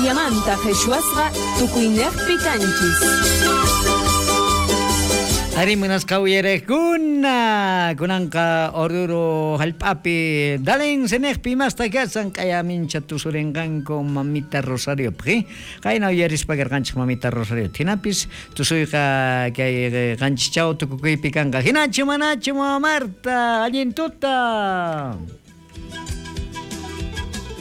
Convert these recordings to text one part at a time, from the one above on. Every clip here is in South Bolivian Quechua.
Boliviamanta qheshwasqa tukuynejpi kanchis. Arí, munasqa uyarejkuna, kunanqa Oruro jallp'api Dalen Senejpi imasta kashan q'aya mincha tusurenqanku mamita Rosariopaq, qayna uyarispa karqanchej mamita Rosario. Jinapis tusuyqa kay qanchischaw tukukuypi kanqa. Jinachu manachu mama Marta, allin tuta.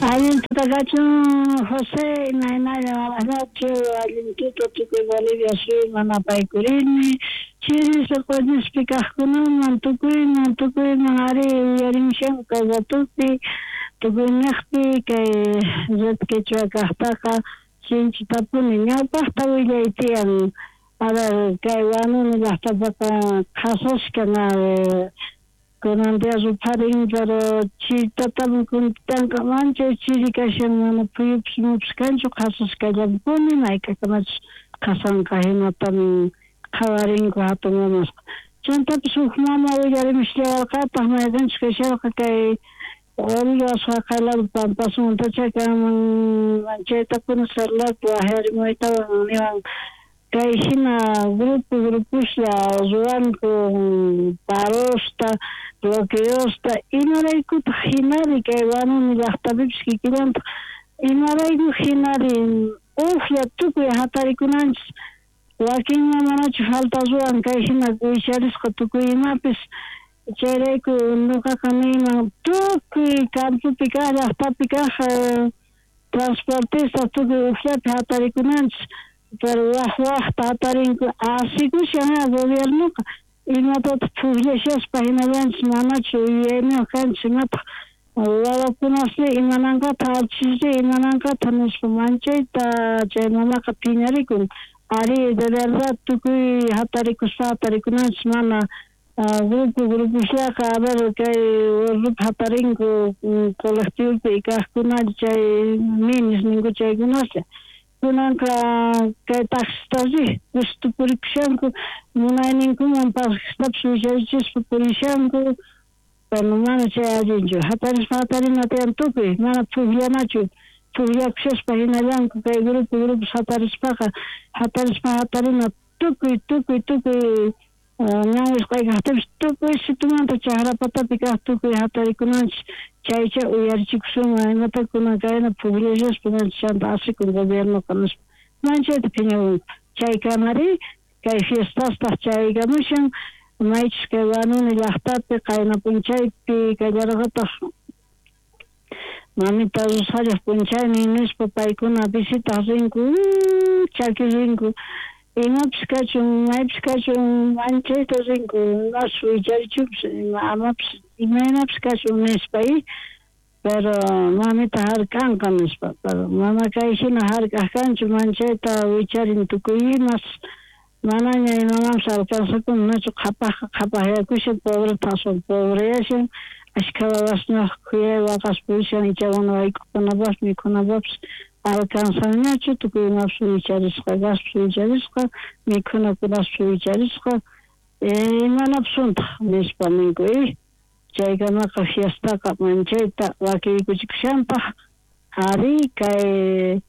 Allin tuta kachun José, imaynalla mamanachu, allin tuta tukuy Bolivia suyuman apaykurini, chiri soqoñispi kajkunaman, tukuyman, tukuyman ari uyarimushanku kay ratupi, tukuynejpi kay Red Quechua kajtaqa sinchitapuni ñawpajta willay tiyan. A ver, kay Huanuni llajtapaqa qhasaskan kunan día rupharin, pero chiritatami kuntanqa manchay chiri kashan, mana phuyupis imapis kanchu, qhasaskallampuni, mayk'akamachus qhasanqa hinatamin qhawarinku hatun mamasqa. Chantapis huk mama willarimusllawarqataq mayqinchus kasharqa kay Oruro asqaqay lado Pampasmantacha kanman, manchaytapuni celularpi waqyarimuytawan niwan kay hina grupo gruposlla ruwanku parosta, bloqueosta, imaraykutaq hinari kay Huanuni llaqtapipis kikillantaq, imarayku hinari ujlla tukuy hatarikunanchis, wakinman manachu falta ruwan kay hina wicharisqa tukuy imapis. Chayrayku nuqaqa niyman tukuy campopi kaq llaqtapi kaq transportista tukuy ujllapi hatarikunanchis, pero waj wajta hatarinku asikushan gobiernoqa imatataq phukllashaspa hinallanchis manachu yuyayniyuq kanchis imataq wawakunasri imananqataq archisri imananqataq nispa manchayta chay mamaqa phiñarikun. Ari de verdad tukuy hatarikuspa hatarikunanchis mana grupo gruposllaqa a ver kay Oruro hatarinku colectivopi kaqkunalla chay minis ninku chaykunaslla. Kunanqa kay taxistasri gusto purikushanku munayninkuman pasajetapis willarichispa purishanku, pero mana chay allinchu hatarispa hatarina tiyan tukuy mana phukllanachu phukllakushaspa hinallanku kay grupo grupos hatarispaqa hatarispa hatarina tukuy tukuy tukuy ñan wisq'ay kaqtipis tukuy situmanta chakra patapi kaq tukuy hatarikunanchis chaycha uyarichikusunman imata kunan kayna phukllashaspa chanta asikun gobiernoqa nispa manchayta phiñakunku. Chaykamari kay fiestastaq chaykamushan maychus kay Huanuni llaqtapi qayna p'unchaypi kallarqataq mamita Rosarioj p'unchaynin nispa paykuna visitaq rinku chaki rinku imapis kachun maypis kachun manchayta rinku imapas wicharichupis amapis imaynapis kachun nispa pero mamita hark'anqa nispa, pero mana kay hina hark'aq kanchu manchayta wicharin tukuy imas manaña imamanpis alcanzakun nachu qhapajqa qhapajyakushan pobreta aswan pobreyashan ashkha wawasniyuq khuyay waqaspa purishan icha mana wayk'ukunapaqpis mikhunapaqpis alcanzanñachu tukuy imapis wicharisqa gaspis wicharisqa mikhunakunapis wicharisqa imanapusuntaq nispa ninku chaykamaqa fiestaqa manchayta wakiykuchikushanpaq ari kay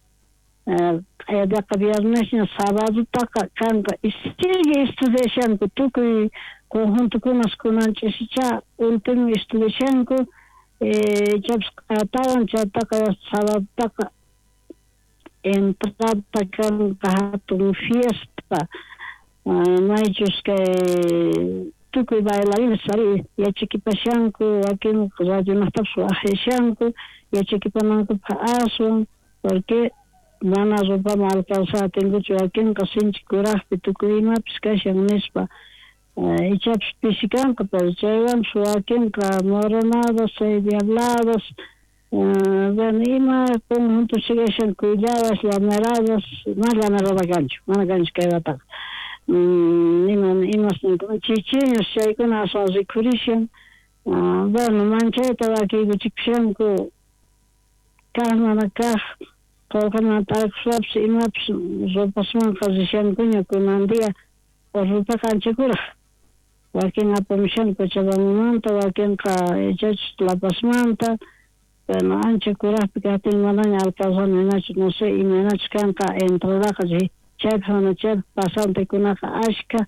q'ayataqa viernesña sabadutaqa kanqa sigue estudiashanku tukuy conjuntokunas kunan ch'isicha último estudiashanku ichapis q'ayatawan chaytaqa sabadutaqa entrada kanqa hatun fiesta maychus kay tukuy bailarines ari yachakipashanku wakin radionaqtapis waqyashanku yachakipanankupaq aswan porque mana ropaman alcanzar atinkuchu wakinqa sinchi kuraqpi tukuy imapis kashan nispa ichapis pisi kanqa pero chaywanpis wakinqa moronadas chay diabladas bueno ima conjunto sigashan cuilladas llamaradas mana llamarada kanchu mana kanchu kay wataqa ima imas chichiños chaykuna aswan rikhurishan bueno manchayta wakiykuchikushanku kaq mana kaq qolqeman tarikuspapis imapis ropasmanqa rishankuña kunan día Oruropiqa ancha kuraq wakin apamushanku Cochabambamanta wakinqa ichachus La Pazmanta Bueno, ancha kurajpi kajtin manaña alcalzano hinachu, no sé imaynachu kanqa entradaqa chaypaq mana chaypaq pasantekunaqa ashka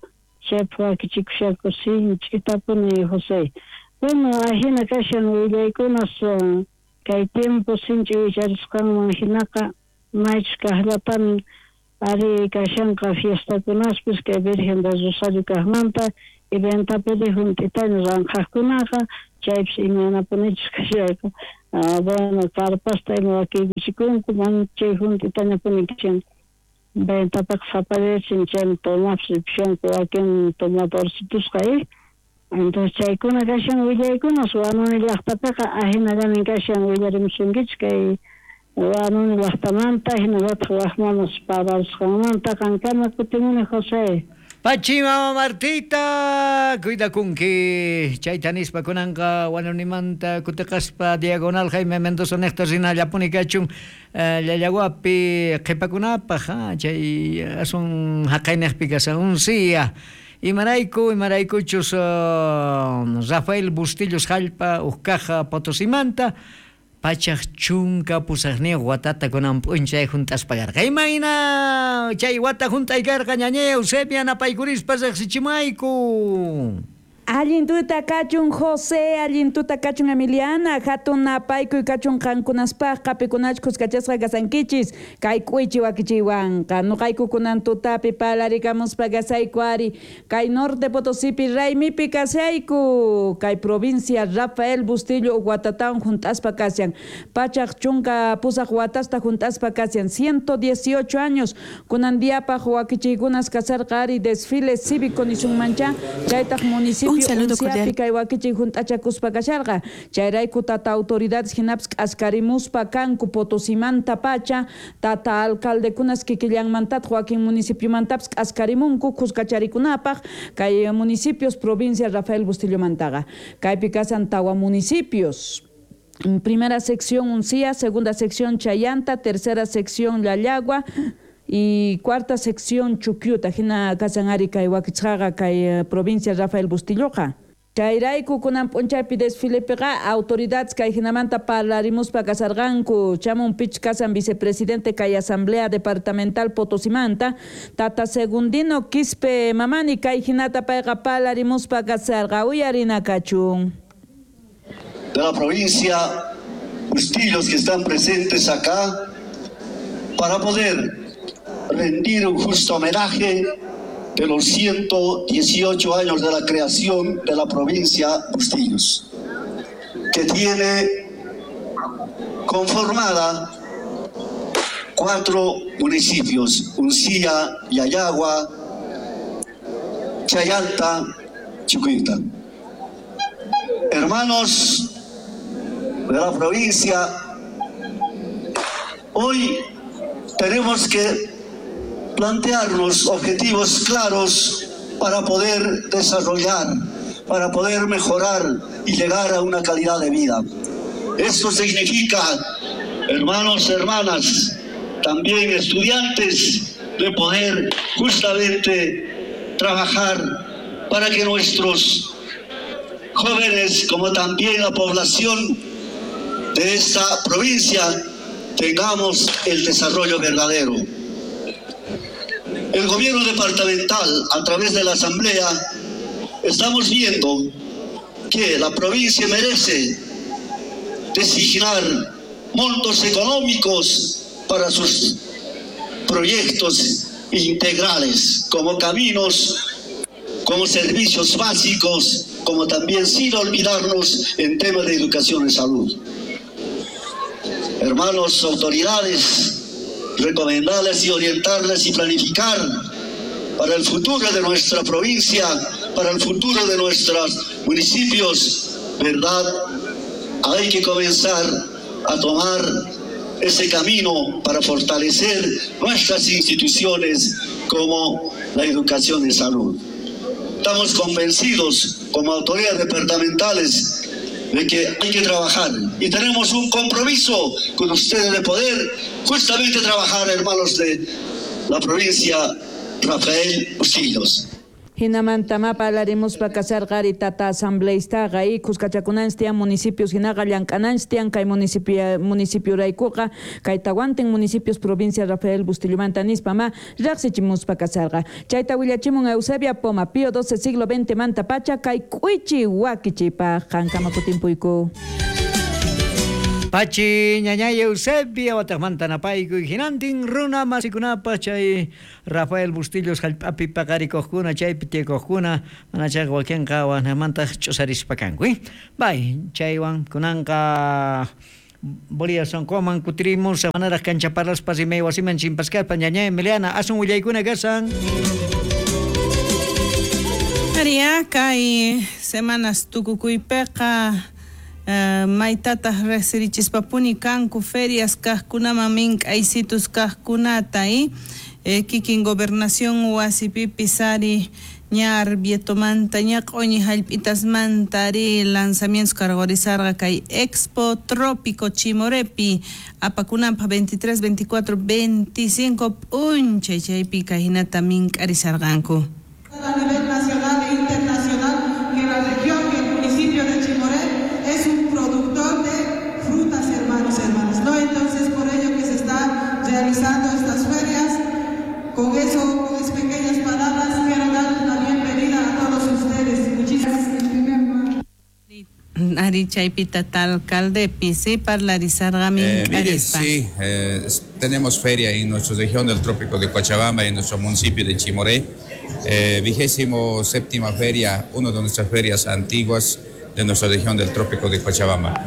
chaypaq wakichikushanku sinch'itapuni José. Bueno, ajina kashan willaykunas kay tiempo sinch'i wicharisqanman hinaqa maychus kaqllatamin ari kashanqa fiestakunaspis kay Virgen del Rosario kaqmanta y ventapiri junt'itaña ranqhaqkunaqa chaypis imaynapunichus kashayqa bueno carpasta ima wakiykuchikunku manchay junt'itañapuni kashan ventapiqa sapallayachin chaymi tomapis ripushanku wakin tomadorcitusqa entonces chaykuna kashan willaykunas Huanuni llaqtapiqa ajinallamin kashan willarimusunkichik kay Huanuni llaqtamanta hinallataq waqmamas parlarisqanmanta qankama kutimuni José. Pachi mama Martita, cuidakunki. Chayta nispa kunanqa Huanunimanta kutiqaspa diagonal Jaime Mendoza niqta rinallapuni kachun Llallawapi qhipakunapaq chay asun haqayniqpi kashan Uncía. Imarayku, imaraykuchus Rafael Bustillos hallp'a uj caja Potosimanta pachaj chunka pusaqniyuq watata kunan p'unchay junt'aspa karqa. Imayna chay wata junt'ay karqa ñañay Eusebia napaykurispa riqsichimayku. Allin tuta kachun José, allin tuta kachun Emiliana, hatun napaykuy kachun qankunaspaqqa pikunachus khuskachasqa kasankichis, kay k'uychi wakichiywanqa, nuqayku kunan tutapi parlarikamuspa kasayku ari, kay Norte Potosipi raymipi kasayku, kay provincia Rafael Bustillo watatawan junt'aspa kashan, pachaj chunka pusaq watasta junt'aspa kashan, 118 años, kunan diapaq wakichiykunas kasarqa ari desfile cívico nisunmancha, chaytaq municipio Un saludo cordial. Kay wakichiy junt'achakuspa kasharqa, chayrayku tata autoridades hinapis k'askarimuspa kanku Potosimanta pacha, tata alcaldekunas kikillanmantataq wakin municipiomantapas k'askarimunku khuskacharikunapaq kay municipios provincia Rafael Bustillomantaqa. Kaypi kasan tawa municipios. Primera sección Uncía, segunda sección Chayanta, tercera sección Llallagua y cuarta sección Chuquiuta, hina kasan ari kay wakichqaqa kay provincia Rafael Bustilloqa. Chayrayku kunan p'unchaypi desfilepiqa autoridades kay hinamanta parlarimuspa kasarqanku, chamun pich kasan vicepresidente kay asamblea departamental Potosimanta, tata Segundino Quispe Mamani kay hinata payqa parlarimuspa kasarqa, uyarina kachun. De la provincia Bustillos que están presentes acá para poder rendir un justo homenaje de los 118 años de la creación de la provincia Bustillos, que tiene conformada 4 municipios, Uncía, Llallagua, Chayanta, Chucuyuta. Hermanos de la provincia, hoy tenemos que plantearnos objetivos claros para poder desarrollar, para poder mejorar y llegar a una calidad de vida. Esto significa, hermanos, hermanas, también estudiantes, de poder justamente trabajar para que nuestros jóvenes, como también la población de esta provincia, tengamos el desarrollo verdadero. El gobierno departamental, a través de la asamblea, estamos viendo que la provincia merece designar montos económicos para sus proyectos integrales, como caminos, como servicios básicos, como también sin olvidarnos en temas de educación y salud. Hermanos, autoridades, recomendarles y orientarles y planificar para el futuro de nuestra provincia, para el futuro de nuestros municipios, ¿verdad? Hay que comenzar a tomar ese camino para fortalecer nuestras instituciones como la educación y salud. Estamos convencidos como autoridades departamentales de que hay que trabajar y tenemos un compromiso con ustedes de poder justamente trabajar, hermanos de la provincia Rafael Bustillos. Hinamanta ma parlarimuspa kasarqari tata asambleistaqa y kuskachakunanchis tiyan municipios hinaqa llank'ananchis tiyan kay municipioraykuqa kay tawantin municipios provincia Rafael Bustillo-manta nispa ma riqsichimuspa kasarqa. Chayta willachimun Eusebia Poma, Pío XII siglo XX manta pacha kay k'uichi wakichipaq qankama kutimpuyku. Pachi ñañay Eusebia wataqmanta napaykuy hinantin runa masikunapaq chay Rafael Bustillos hallp'api paqarikuqkuna chaypi tiyakujkuna mana chayqa wakinqa waqnamantaq ch'usarispa kanku. Bay chaywan kunanqa Bolivia sonqoman kutirimus manaraq kanchaparlaspa rimay wasiman chimpaskarpa ñañay Emiliana asun willaykuna kasan. Aria kay semanas tukukuypiqa maytataq riqsirichispapuni kanku ferias kaqkunaman mink'aysitus kaqkunata kikin gobernación wasipipis ari ña arbietomanta ña q'uñi hallp'itasmanta ari lanzamientos cargorizarqa kay Expo Trópico Chimorepi apakunanpaq 23, 24, 25 p'unchay chaypi kayhinata mink'arisarqanku. A nivel nacional e internacional que la región y el municipio de Chimoré es un productor de frutas, hermanos, hermanas, ¿no? Entonces, por ello que se está realizando estas ferias. Con eso, con esas pequeñas palabras, quiero darles la bienvenida a todos ustedes. Muchísimas gracias. Ari chaypita alcalde sí parlarizarga mire, sí, tenemos feria en nuestra región del Trópico de Cochabamba, en nuestro municipio de Chimoré. 27ª feria, una de nuestras ferias antiguas de nuestra región del Trópico de Cochabamba.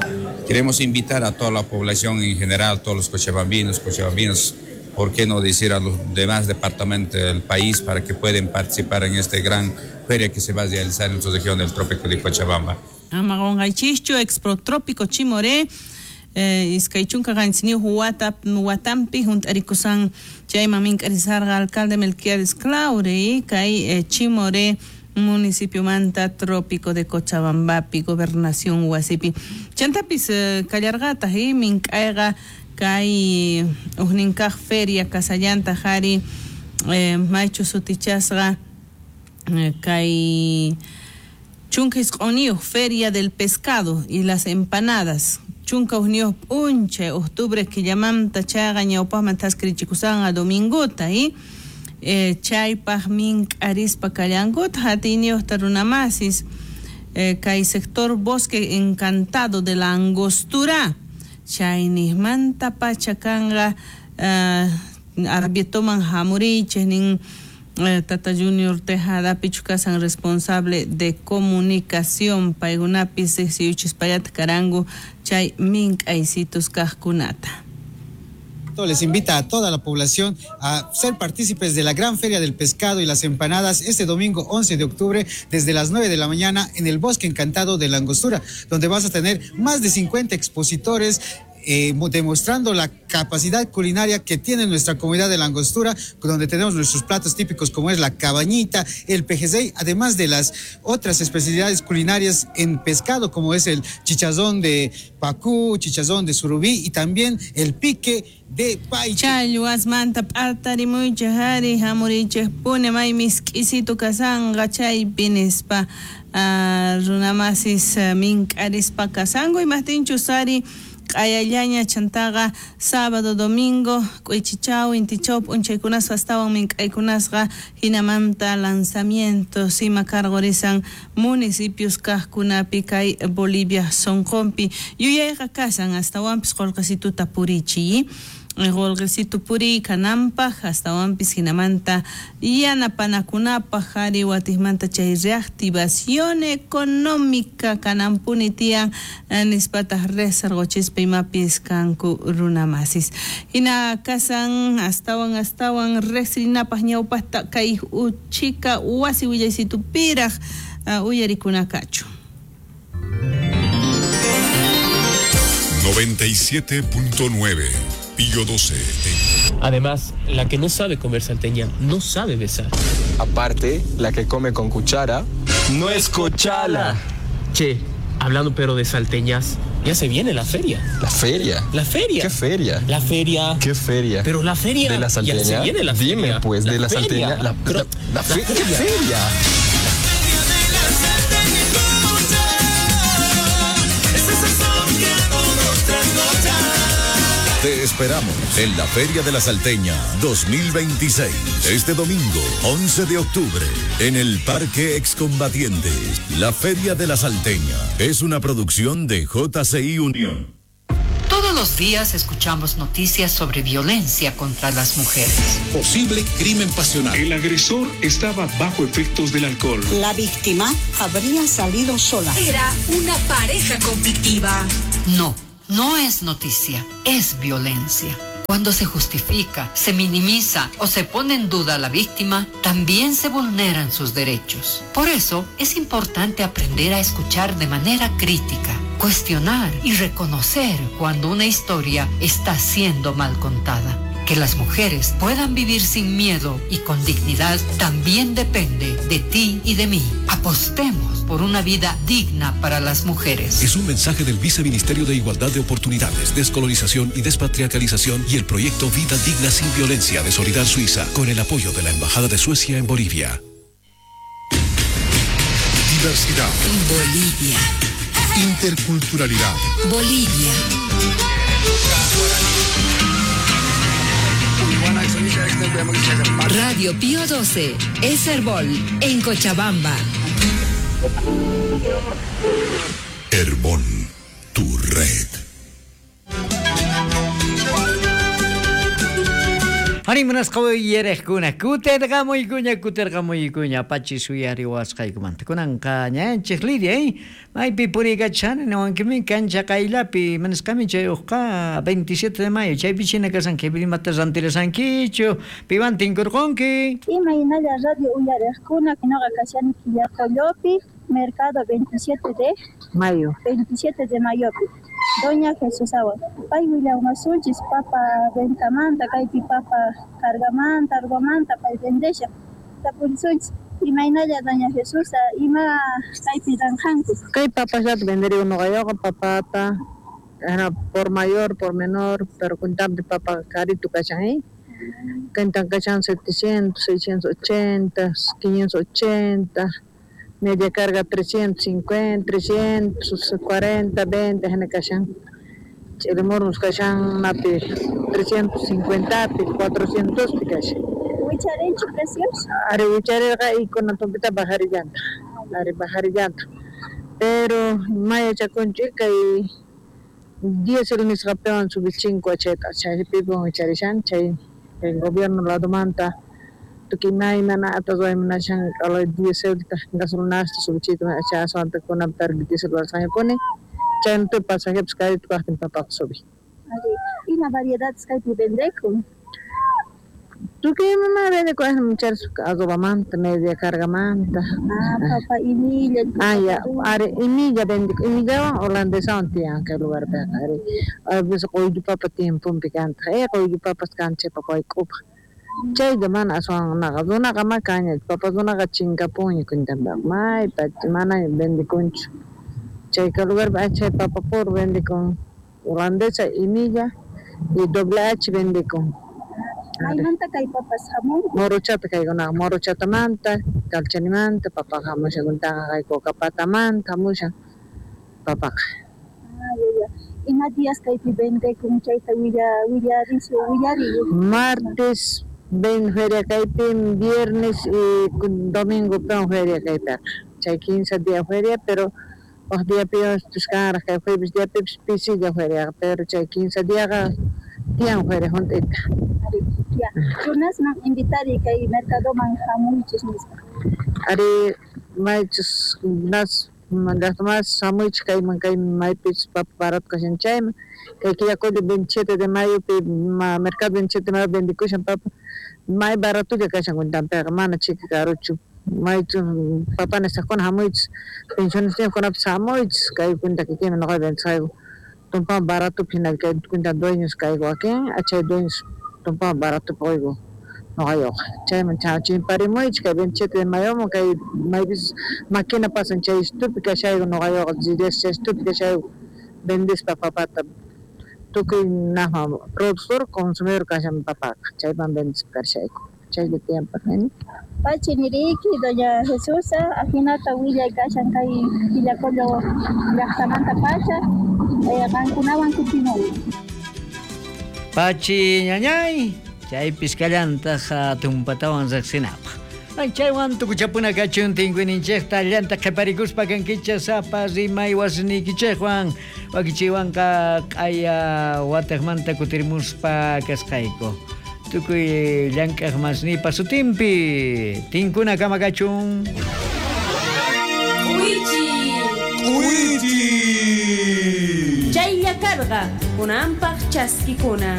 Queremos invitar a toda la población en general, todos los cochabambinos, cochabambinos, por qué no decir a los demás departamentos del país para que puedan participar en esta gran feria que se va a realizar en nuestra región del Trópico de Cochabamba. Amagongaichischo, Expo Trópico Chimoré, iskay chunka qanchisniyuq watampi hunt'arikusan chayman mink'arisarqa alcalde Melquiades Claure kay Chimoré municipiomanta Trópico de Cochabambapi gobernación wasipi chantapis kallarqataq mink'ayqa kay ujninkaq feria kasallanta qhari maychu sutichasqa kay chunka isq'unniyuq feria del pescado y las empanadas chunka ujniyuq p'unchay octubre killamanta chayqa ñawpaqman thaskirichikusanqa dominguta chaypaq mink'arispa kallankuta hatiyniyuqta runamasis kay sector Bosque Encantado de la Angostura chayniqmanta pacha kanqa arbietoman hamurichej nin Tata Junior Tejada pichu kasan responsable de comunicación paykunapis riqsiyuchispallata karanku chay mink'aysitus kaqkunata. Les invita a toda la población a ser partícipes de la gran feria del pescado y las empanadas este domingo 11 de octubre desde las 9 de la mañana en el Bosque Encantado de la Angostura, donde vas a tener más de 50 expositores demostrando la capacidad culinaria que tiene nuestra comunidad de la Angostura, donde tenemos nuestros platos típicos como es la cabañita, el pejecey, además de las otras especialidades culinarias en pescado como es el chichazón de pacú, chichazón de surubí y también el pique de paiche. Challwasmanta p'atarimuychej ari hamurichej pune may misk'isitu kasanqa chaypi nispa runamasis mink'arispa kasanku imajtinchus ari q'ayallaña chantaqa sábado domingo k'uychichaw intichaw p'unchaykunasqa astawan mink'aykunasqa hinamanta lanzamientos ima cargorisan municipios kaqkunapi kay Bolivia sonqonpi yuyayqa kasan astawanpis qullqisituta purichiy qullqisitu puriy kananpaq astawanpis hinamanta yanapanakunapaq ari watiqmanta chay reactivación económica kananpuni tiyan nispataq riqsirquchispa imapis kanku runamasis hina kasan astawan astawan riqsirinapaq ñawpaqta kay uchika wasi willaysitupiraq uyarikunakachu. 97.9 Pío 12. Además, la que no sabe comer salteña no sabe besar. Aparte, la que come con cuchara no es cochala. Che, hablando pero de salteñas, ya se viene la feria. ¿La feria? La feria. ¿Qué feria? La feria. ¿Qué feria? Pero la feria. ¿De la salteña? Ya se viene la feria. Dime pues, de la salteña. La feria. ¿Qué feria? La salteña escucha, ese sazón que a todos trasnocha. Te esperamos en la Feria de la Salteña 2026, este domingo 11 de octubre, en el Parque Excombatientes. La Feria de la Salteña es una producción de JCI Unión. Todos los días escuchamos noticias sobre violencia contra las mujeres. Posible crimen pasional. El agresor estaba bajo efectos del alcohol. La víctima habría salido sola. Era una pareja conflictiva. No, no es noticia, es violencia. Cuando se justifica, se minimiza o se pone en duda a la víctima, también se vulneran sus derechos. Por eso es importante aprender a escuchar de manera crítica, cuestionar y reconocer cuando una historia está siendo mal contada. Que las mujeres puedan vivir sin miedo y con dignidad también depende de ti y de mí. Apostemos por una vida digna para las mujeres. Es un mensaje del Viceministerio de Igualdad de Oportunidades, Descolonización y Despatriarcalización y el proyecto Vida Digna Sin Violencia de Solidar Suiza, con el apoyo de la Embajada de Suecia en Bolivia. Diversidad. Bolivia. Interculturalidad. Bolivia. Radio Pío 12, es Herbol, en Cochabamba. Herbol, tu red. Animunasqa uyariqkuna, kutirqamuykuña, kutirqamuykuña, pachi suyariwasqaykumanta. Kunanqa ñanchik Lidia, maypi puriykachani niwankimi kancha qayllapi, manasqami chay uqqa 27 de mayo, chaypi china kasanki, imata rantirasankichu, piwan tinkurqunki. Imaynalla radio uyariqkuna, noqa kashani Quillacollopi, mercado 27 de mayo. 27 de mayopi. Doña Jesús Awa, pay willawmasunchis papa ventamanta, kaypi papa cargamanta, argomanta, pay vendesha. Tapurisunchis, imaynalla Doña Jesús, ima kaypi ranjanku. Kay papallata venderigo noqayoqa papata, por mayor, por menor, pero kuntampi papa carito kashan, ¿eh? Kantan kashan 700, 680, 580. Media carga 350, 340, 20, hina kashan. Ch'ilimurmus kashan napi 350, 400 pi kashan. Wicharinchu precios? Ari wicharirqa ikuna tumpita bajarillanta. Ari bajarillanta. Pero mayachakunchik kay diésel nisqapiwan subichinko chayta chaypiwan wicharishan chay el gobierno ladomanta. Tukuy imaymana ruwaymunashan dieselta gasolinasta subichiyta chay aswanta kunanpi diesel ruwasqañapuni chaymantapi pasajepas carito kaqtin papaqa subi. Ima variedades kaypi vendekun? Tukuy imamanta vendekun charisqa arrobamanta, media cargamanta. Ah, papa imilla. Ah, ya, ari imilla vendekun, imillawan holandesawan tiyan kay lugarpiqa ari. A veces q'ullu papa tiemponpi kantaq, q'ullu papas kan chay papa wayk'upaq. Chaylla mana aswan naqa runaqa ma kaña, papa runaqa chinkapunña kuntanpiqa, maypacha manaña vendekunchu. Chayka lugarpi chay papa puro vendekun, holandesa, imilla y doble H vendekun. Maymanta kay papas hamun? Morochata kaykunaqa, Morochatamanta, Calchanimanta, papaqa hamushan kuntaqa kay Cocapatamanta hamushan papaqa. Ah, ya, ya. Ima días kaypi vendekun chayta willarisu willariy? Martes ven feria kaypi, viernes y domingo peon feria kaypiqa. Chay 15 días feria, pero waj diapi kanraq kay jueves diapipis pisilla feriaqa, pero chay 15 diaqa tiyan feria junt'ita. Ya, runasman invitari kay mercadoman hamuychis nispa. Ari maychus nas llaqtamas hamuychis kayman kay maypis papa barato kashan chayman. Kay Quillacollo 27 de mayopi mercado 27 de mayo vendekushan papa may baratolla kashan kuntanpiqa mana chika karuchu maychu papa nisqakuna hamuychis pensionistajkunapis hamuychis kay kunta kikiymi noqa vendesqayku tumpa baratopi hina kay kunta dueños kayku wakin chay dueños tumpa baratopi quyku noqayuqa chayman chimparimuychis kay 27 de mayoman kay maypis maquina pasan chay estupi kashayku noqayuqa chay estupi kashayku vendespa papata tukuy najma productor consumidor kashan papaqa chayman vendespa karshayku. Chaylla tiyan parlaynin. Pachi niriki, doña Jesusa, ajinata willay kashan kay Quillacollo llaqtamanta pacha, qankunawan kutimuni. Pachi ñañay, chaypis kallantaj tumpatawan riqsinapaq. Chaywan tukuchapuna kachun tinkuyninchikta llanta qhiparikuspa kankichik sapa rimay wasniykichikwan wakichiwanqa q'aya wataqmanta kutirimuspa kasqayku. Tukuy llank'aq masnipa sutinpi tinkuna kama kachun. K'uichi. K'uichi. Chaylla karqa kunanpaq chaskikuna.